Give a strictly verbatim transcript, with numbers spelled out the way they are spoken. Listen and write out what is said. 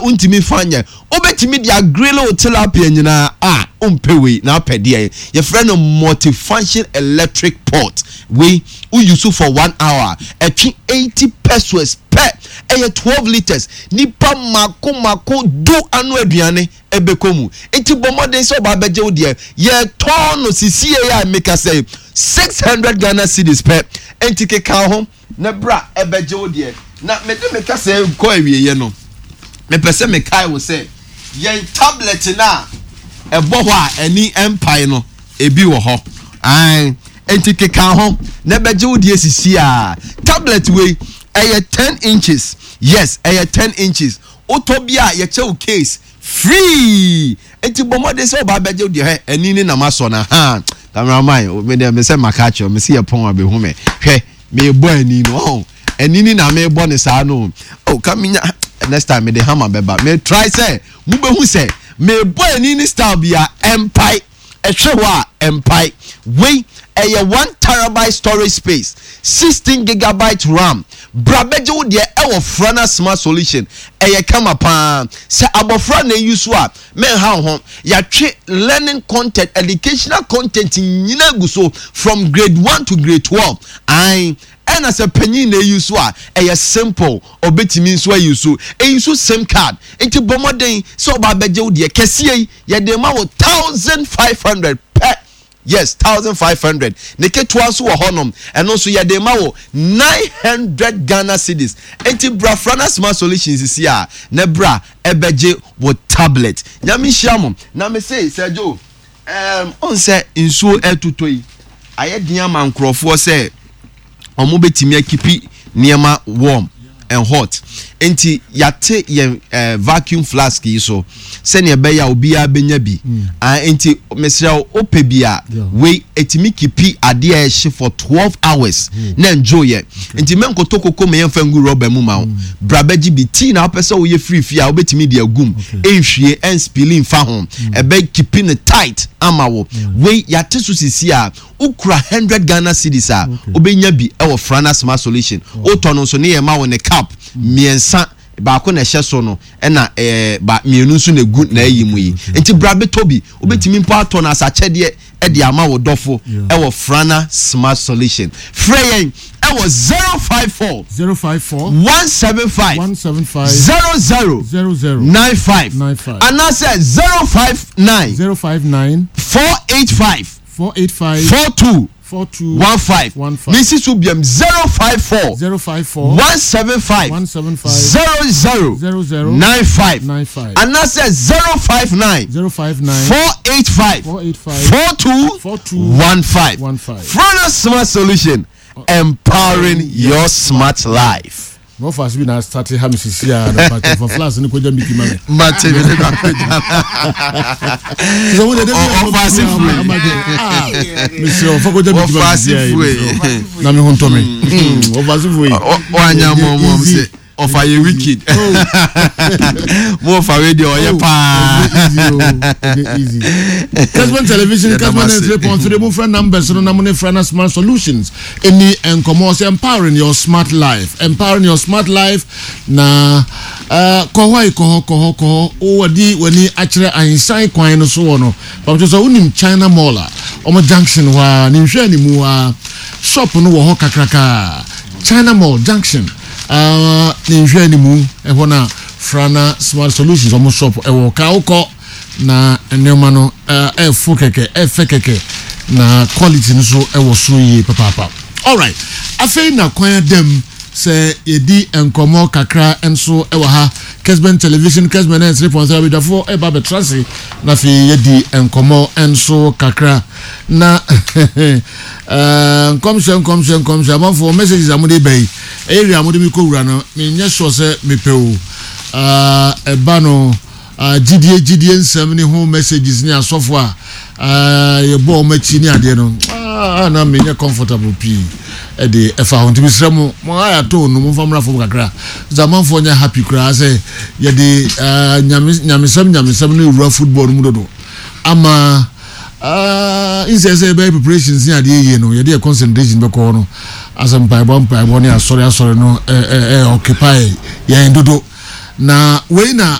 wontumi fa nyɛ. Wobɛtumi de agrill wo tilapia nyinaa a wompɛ wei na apɛ deɛ yɛfrɛ no multifunction electric pot. Wei wouse for one hour, ɛtwe eighty pesewas pɛ. Ɛyɛ twelve litres, nipa mako mako du ano aduane ɛbɛkɔ mu. Nti bɔ mmɔden sɛ ɔba abɛgye wo deɛ. Yɛtɔn no sisie a meka sɛ six hundred Ghana cedis pɛ. Nti keka ho na bra ɛbɛgye wo deɛ. Na mede meka sɛ kɔ awieɛ no, mepɛ sɛ mekae wo sɛ yɛn tablet no a ɛbɔ hɔ a ani mpae no, ebi wɔ hɔ ae. Nti keka ho na ɛbɛgye wo deɛ sisi a. Tablet wei ɛyɛ ten inches. Yes, ɛyɛ ten inches. Wotɔ bi a, yɛkyɛ wo case free. Nti bɔ mmɔden sɛ ɔba abɛgye wo deɛ. Hɛ, ani ne nam asɔ na ha cameraman me deɛ me sɛ maka akyerɛ me sɛ yɛ pɔn abɛhu me. Hwɛ, mebɔ ani no ɔn ani ni na mebɔ ne saa no. Oh, ka menya next time mede hammer bɛba. Me try sɛ mobɛhu sɛ mebɔ ani ni style bi a ɛmpae. Ɛhwɛ hɔ a ɛmpae. Wei ɛyɛ one terabyte storage space, sixteen gigabyte RAM. Bra bɛgye wo deɛ ɛwɔ Frana Smart Solution. Ɛyɛ kama paa sɛ abɔfra na eyi so a mɛnha wo ho. Yɛatwe learning content, educational content nyinaa gu so from grade one to grade twelve ae. Ɛna sɛ panyin na eyi so a, ɛyɛ simple, ɔbɛtumi nso ayi so, eyi so SIM card. Nti bɔ mmɔden sɛ ɔba abɛgye wo deɛ. Kɛseɛ yi yɛde ma wo thousand five hundred pɛ. Yes, thousand five hundred. Ne ketewa nso wɔ hɔnom, ɛno nso yɛde ma wo nine hundred Ghana cedis. Nti bra Frana Smart Solutions sisi a na bra ɛbɛgye wo tablet. Nyame nhyira mo. Na me se sɛ Joe ɛɛm ɔn sɛ nsuo ɛtotɔ yi, ayɛ den ama nkurɔfoɔ sɛ ɔmo bɛtumi akeep nneɛma warm and hot. Nti yate yɛn ɛɛ vacuum flask yi so sɛnea ɛbɛyɛ a obiara bɛnya bi. Ah, nti mesrɛ wo, wopɛ bi a, wei etumi keep adeɛ a ɛhye for twelve hours na njo yɛ. Nti mɛnkoto koko ma yɛmfa ngu rɔba mu ma wo. Bra bɛgye bi. Tea na wopɛ sɛ woyɛ firi fie a, wobɛtumi de agum, ɛnhwie, ɛnspill mfa ho, ɛbɛ keep no tight ama wo. Wei yate so sisi a wokura hundred Ghana cedis a, wobɛnya bi ɛwɔ Frana Smart Solution. Wotɔ no nso ne yɛ ma wo ne cap mmiɛnsa, baako na ɛhyɛ so no, ɛna ɛɛ ba mmienu nso na egu na ɛyi mu yi. Nti bra bɛtɔ bi. Wobɛtumi mpo atɔ no asakyɛdeɛ ɛde ama wo dɔfo ɛwɔ Frana Smart Solution. Frɛ yɛn ɛwɔ zero five four zero five four one seven five one seven five zero zero zero zero nine five nine five anaasɛ zero five nine zero five nine four eight five four eight five four two four two one five. one five. Mesi so biam, zero five four zero five four one seven five one seven five zero zero zero zero nine five nine five anaasɛ zero five nine zero five nine four eight five four eight five four two four two one five. one five. Frana Smart Solution, empowering your smart life. Wɔfa ase bi na start ha mi sisi a na pàtó fa flask ne kọjá miki ma mi. Mate mi ne kakɔgya. Sisan wo de de bi Ɔfa ase fue. Mesrɛ ɔfa kọjá miki ma Ɔfa mi ase sisi a fue. na mi ho ntɔ mi. Ɔfa ase fue. Wanya mɔmɔm sɛ ɔfa yɛ wicked mo, ɔfa wei deɛ ɔyɛ paa. Easy. Kesman Television, Yɛda mo Kesman ase. three point three. Mo frɛ numbers no na mo ne Frana Smart Solutions ɛni nkɔmɔ sɛ empowering your smart life, empowering your smart life. Na uh, kɔ hɔ yi, kɔ hɔ, kɔ hɔ, kɔ hɔ. Wɔde w'ani akyerɛ ahensan kwan no so wɔ no pàtó sɛ wonim China Mall a ɔmo junction hɔ a ne nhwɛ ne mu a shop no wɔ hɔ kakraka. China Mall junction uh, ne nhwɛ ne mu ɛhɔ na Frana Smart Solutions ɔmo shop ɛwɔ. Ka wokɔ na nneɛma no ɛɛfo kɛkɛ, ɛɛfɛ kɛkɛ, na quality no so ɛwɔ soro yie papaapa. Alright, afei na kwan adam sɛ yɛdi nkɔmɔ kakra nso ɛwɔ ha. Kesben Television, Kesben nine three point three. Abadwafoɔ ɛba abɛtra ase na afei yɛdi nkɔmɔ nso kakra na ɛɛ nkɔmhyɛ, nkɔmhyɛ, nkɔmhyɛ. Amanfoɔ messages a mode ba yi, area a mode mi kɔ wura no, menyɛ sure sɛ mepɛ o. ɛɛ ɛba no uh, gyidie gyidie nsɛm ne ho messages ne asɔfo a uh, yɛbɔ wɔn akyi ne adeɛ no, ah, na menyɛ comfortable pii ɛde ɛfa ho. Nti mesrɛ mo, mo ayɛ ato no, momfa mmra fam kakra sɛ amanfoɔ nyɛ happy koraa sɛ yɛde uh, nyame nyamesɛm nyamesɛm no ewura football no mu dodo ama uh, nsɛ sɛ yɛbɛyɛ preparations ne adeɛ yie no, yɛde yɛ concentration bɛkɔ hɔ no asɛ mpaebɔ mpaebɔ ne asɔre asɔre no ɛ ɛ ɛ occupy yɛn dodo. Na wei na